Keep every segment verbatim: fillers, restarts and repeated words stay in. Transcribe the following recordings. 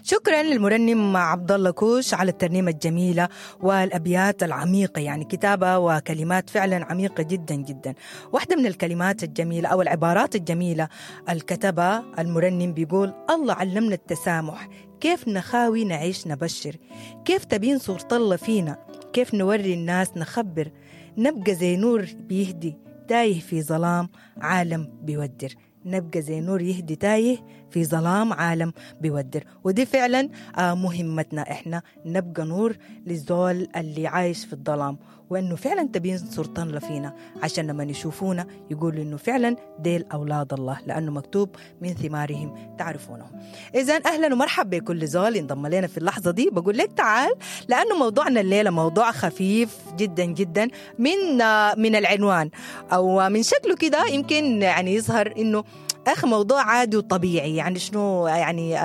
شكرا للمرنم عبد الله كوش على الترنيمة الجميلة والابيات العميقة، يعني كتابه وكلمات فعلا عميقة جدا جدا. واحدة من الكلمات الجميلة او العبارات الجميلة الكتبة المرنم بيقول: الله علمنا التسامح، كيف نخاوي نعيش نبشر، كيف تبين صورة الله فينا، كيف نوري الناس نخبر، نبقى زي نور بيهدي تايه في ظلام عالم بيودر. نبقى زي نور يهدي تايه في ظلام عالم بيودر. ودي فعلا مهمتنا، احنا نبقى نور للزول اللي عايش في الظلام، وانه فعلا تبين صورة الله فينا عشان لما يشوفونا يقولوا انه فعلا ديل اولاد الله، لانه مكتوب من ثمارهم تعرفونهم. اذا اهلا ومرحبا بكل زول انضم لنا في اللحظة دي. بقول لك تعال، لانه موضوعنا الليلة موضوع خفيف جدا جدا من من العنوان او من شكله كده يمكن يعني يظهر انه اخ موضوع عادي وطبيعي. يعني شنو يعني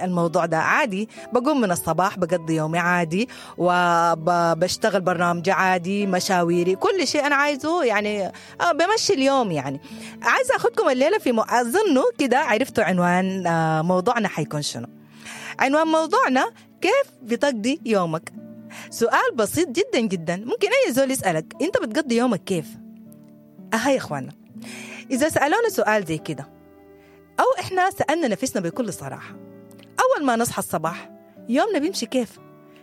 الموضوع ده عادي؟ بقوم من الصباح بقضي يومي عادي، وبشتغل برنامج عادي، مشاويري، كل شيء انا عايزه يعني بمشي اليوم. يعني عايزه اخدكم الليلة في م... اظنه كده عرفتوا عنوان موضوعنا حيكون شنو. عنوان موضوعنا: كيف بتقضي يومك؟ سؤال بسيط جدا جدا، ممكن اي زول يسالك انت بتقضي يومك كيف؟ اها يا اخوانا، اذا سالونا سؤال زي كده أو إحنا سألنا نفسنا بكل صراحة، أول ما نصحى الصباح يومنا بيمشي كيف؟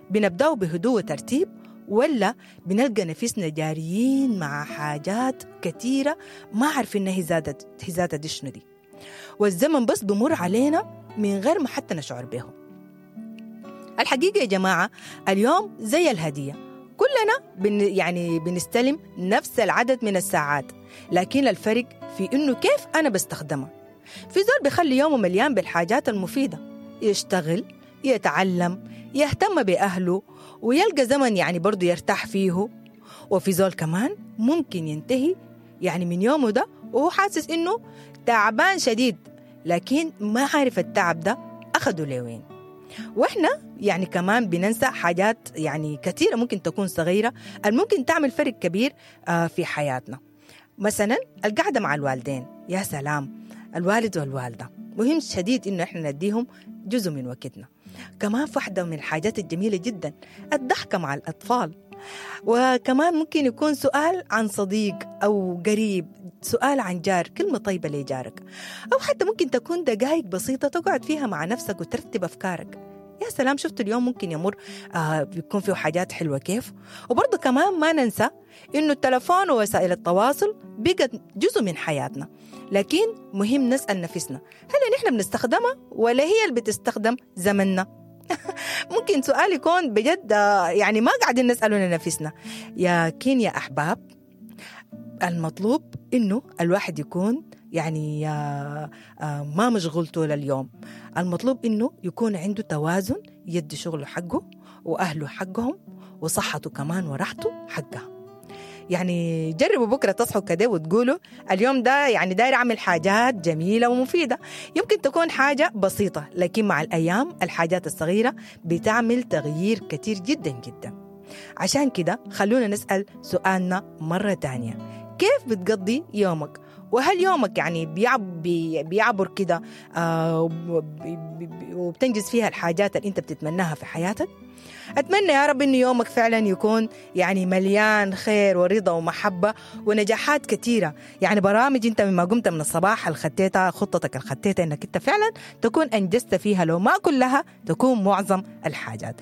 بنبدأه بهدوء وترتيب، ولا بنلقى نفسنا جاريين مع حاجات كثيرة ما عارفين هي زادت هي زادت دي شنو دي، والزمن بس بمر علينا من غير ما حتى نشعر به. الحقيقة يا جماعة اليوم زي الهدية، كلنا بن يعني بنستلم نفس العدد من الساعات، لكن الفرق في إنه كيف أنا بستخدمها. في زول بيخلي يومه مليان بالحاجات المفيدة، يشتغل، يتعلم، يهتم بأهله، ويلقى زمن يعني برضو يرتاح فيه. وفي زول كمان ممكن ينتهي يعني من يومه ده وهو حاسس إنه تعبان شديد، لكن ما عارف التعب ده أخده لوين. وإحنا يعني كمان بننسى حاجات يعني كثيرة ممكن تكون صغيرة الممكن تعمل فرق كبير في حياتنا. مثلا القعدة مع الوالدين، يا سلام، الوالد والوالدة مهم شديد إنه إحنا نديهم جزء من وقتنا. كمان واحدة من الحاجات الجميلة جدا الضحكة مع الأطفال. وكمان ممكن يكون سؤال عن صديق أو قريب، سؤال عن جار، كلمة طيبة لجارك، أو حتى ممكن تكون دقائق بسيطة تقعد فيها مع نفسك وترتب أفكارك. يا سلام، شفت اليوم ممكن يمر آه بيكون فيه حاجات حلوة كيف. وبرضه كمان ما ننسى إنه التلفون ووسائل التواصل بقت جزء من حياتنا، لكن مهم نسأل نفسنا هل نحن بنستخدمها ولا هي اللي بتستخدم زمننا؟ ممكن سؤال يكون بجد يعني ما قاعدين نسأله لنفسنا. لكن يا أحباب المطلوب إنه الواحد يكون يعني ما مشغول طول اليوم. المطلوب إنه يكون عنده توازن، يدي شغله حقه وأهله حقهم وصحته كمان وراحته حقها. يعني جربوا بكرة تصحوا كده وتقولوا اليوم ده يعني داير أعمل حاجات جميلة ومفيدة. يمكن تكون حاجة بسيطة، لكن مع الأيام الحاجات الصغيرة بتعمل تغيير كتير جدا جدا. عشان كده خلونا نسأل سؤالنا مرة تانية: كيف بتقضي يومك؟ وهل يومك يعني بيعب بيعبر كده آه وبتنجز فيها الحاجات اللي انت بتتمناها في حياتك؟ أتمنى يا رب إنه يومك فعلا يكون يعني مليان خير ورضا ومحبة ونجاحات كثيرة. يعني برامج أنت مما قمت من الصباح الخطيتها، خطتك الخطيتها إنك أنت فعلا تكون أنجزت فيها، لو ما كلها تكون معظم الحاجات.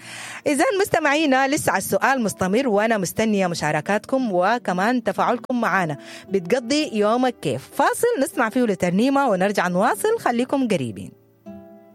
إذا مستمعينا لسه على السؤال مستمر، وأنا مستنية مشاركاتكم وكمان تفاعلكم معنا. بتقضي يومك كيف؟ فاصل نسمع فيه لترنيمة ونرجع نواصل، خليكم قريبين.